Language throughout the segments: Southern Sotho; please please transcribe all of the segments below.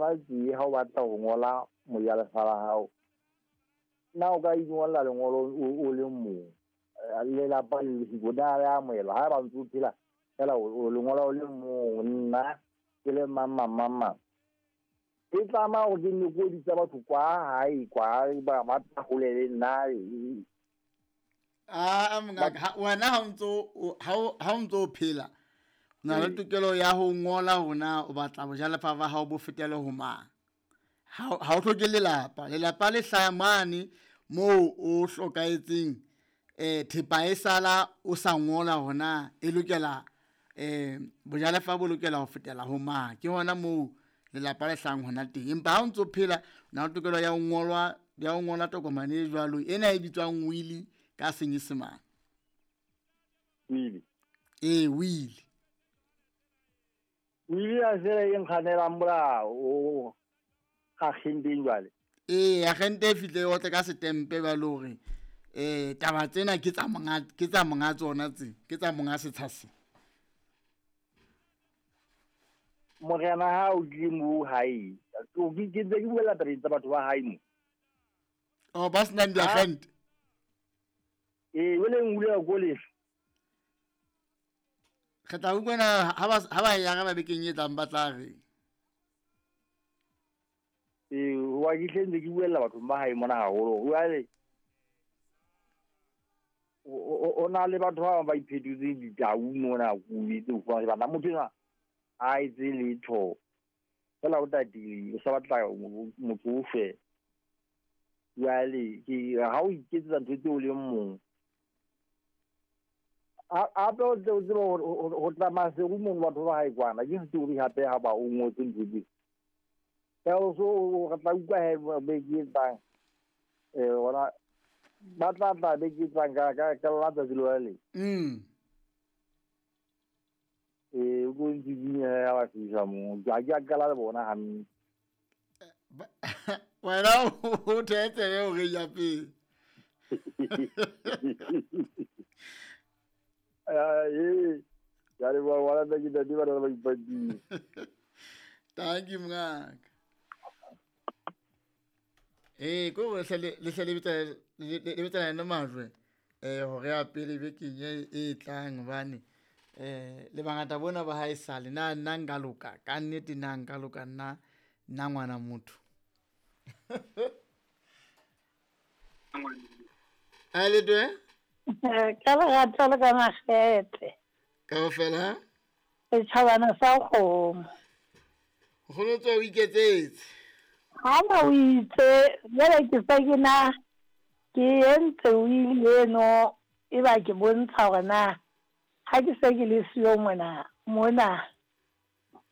Ngola tje ha o batla ho ngola mojalefa la hao. Na o ka ingolla lengolo o le mong. Lelapa le siko na le amohelwa ha ba ntse o phela fela o lengola o le mong, nna ke le mang mang mang mang. E tlama hore ke nne ko bitsa batho kwa hae kwa ba tla hole le nna. A mongaka, wena ha o ntso phela, o na le tokelo ya ho ngola hore na o batla bojalefa ba hao bo fetele ho mang. Ha o hloke lelapa, lelapa le hlaha mane moo o hlokahetseng, thepa e sala o sa ngola hore na e lokela bojalefa bo lokela ho fetela ho mang. Ke hona moo lelapa le hlahang hona teng. Empa ha o ntso phela, o na le tokelo ya ho ngolwa, ya ho ngola tokomane e jwalo ena e bitswang will ka Senyesemane. Will. Ee, will. Will ya se e nkganelang molao o agenteng jwale. Ee, agente e fihle e otle ka setempe ba le hore taba tsena ke tsa monga, ke tsa monga tsona tse, ke tsa monga setsha se. Morena ha o tlile mo hae, o ke ntse ke buela tabeng tsa batho ba hae mo. Oh, ba senang diagente. Ee, jwale ngule ko lefe. Re tla utlwa na ha ba ya ba bekeng e tlang ba tla re. Ee, wa ke hle ntse ke buella batho ba hae mona haholo. Jwale o na le batho ba bang ba iphetotseng ditau mona ko etse ho fumana bana motho enwa ha etse letho. Fela o tatile, o sa batla motho o fe. Jwale ke ha o iketsetsa ntho tseo o leng mong. Hape o tle o tsebe hore ho tla Maseru mono batho ba hae kwana. Ke story hape ha ba o ngotse ntho tseo. Ka o so re tla utlwa he beke e tlang. Hona ba tla tla beke e tlang ka lona tsatsi lona le. O tlo ntsitsinya ha ba fihla moo. Ha ke a qala le bona hantle. Wena o thetsebe hore ya pele. Ya le bua wala ke ntate ba ba ipatile. Thank you mngaka. Ko re le hle le bitsa yena majwe. Hore ya pele bekeng e tlang hobane le bangata bona ba hae sale na nna nka loka ka nnete, nna nka loka nna nna ngwana motho. A le twe? Ka lerato le ka makgethe. Kaofela? Setjhabana sa kgomo. Nkgono tswa o iketsetse. Ha ba o itse, jwale ke se ke na ke entse will eno e ba ke bontsha hore na ha ke se ke le siyo mona mona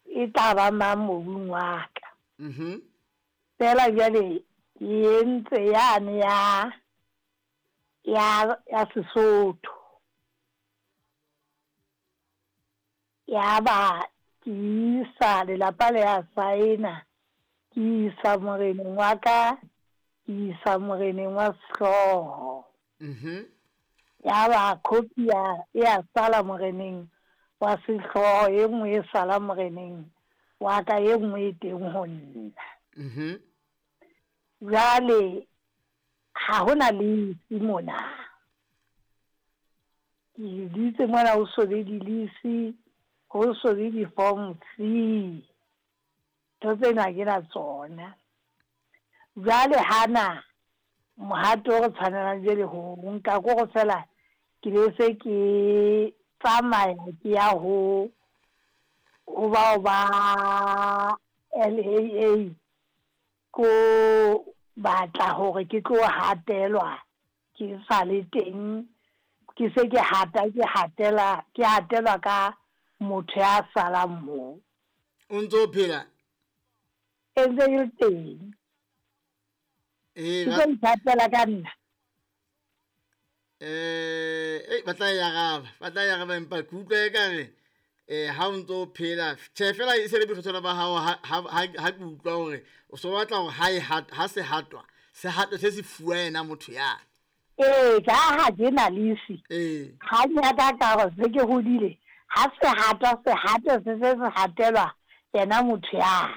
e tla ba mang mobung wa ka. Fela jwale ke entse yane ya ya Sesotho. Ya ba ke isa lelapa le ya saena, ke isa moreneng wa ka, ke isa moreneng wa sehlooho. Ya ba copy ya sala moreneng wa sehlooho, e nngwe e sala moreneng wa ka, e nngwe e teng ho nna. Jwale ha hona lease mona. Ke ditse mona ho so be di-lease, ho so be di-form C. Ntho tsena ha ke na tsona. Jwale hana mohato o re tshwanelang jwale ho nka ko go fela ke be se ke tsamaya ke ya ho bao ba LAA ko batla hore ke tlo hatelwa ke sa le teng, ke se ke hata ke hatela ke hatelwa ka motho ya salang moo. O ntso phela? E ntse e le teng. Ke tlo ithatela ka nna. Ba tla e araba, ba tla e araba empa ke utlwa ekare ha o ntso phela tjhe fela e se le boikgethelo ba hao ha ke utlwa hore o so batla hore ha e ha se hatwa se hatwe se se fuwa yena motho ya. Ee, ka ha ke na lease. Ha nyaka ka hore se ke hodile, ha se hatwa se hatwe se se se hatelwa yena motho ya.